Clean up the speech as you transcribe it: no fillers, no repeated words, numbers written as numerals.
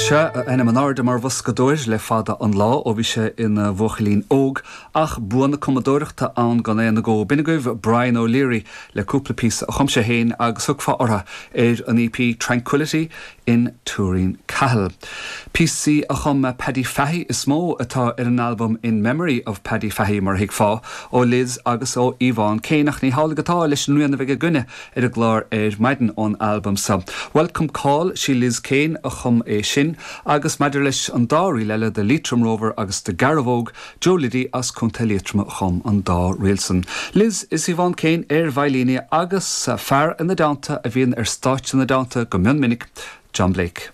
Sea, a ainm in airde mar bhoscadóir le fada an lá, ó bhí sé ina bhuachaillín óg, ach bua na cumadóireachta ann gan aon agó. B'in agaibh Brian O'Leary le cúpla píosa a chum sé féin agus thiocfá orthu ar an EP Tranquility in Tuairín Cahill. Píosaí a chum Paddy Fahey is mó atá ar an albam In Memory of Paddy Fahey, mar a thuigfeá, ó Liz agus ó Yvonne Kane, ach ní hamhlaidh atá leis an rian a bheidh againne ar an gclár ar maidin ón albam seo. Welcome Call, sí Liz Kane a chum é sin agus maidir leis an dá ríl eile, The Leitrim Rover agus The Garavogue, Joe Liddy as Contae Liatroma a chum an dá ríl san. Liz is Yvonne Kane ar veidhlíní agus fear ina dteannta a bhíonn ar stáitse ina dteannta go mion minic, John Blake.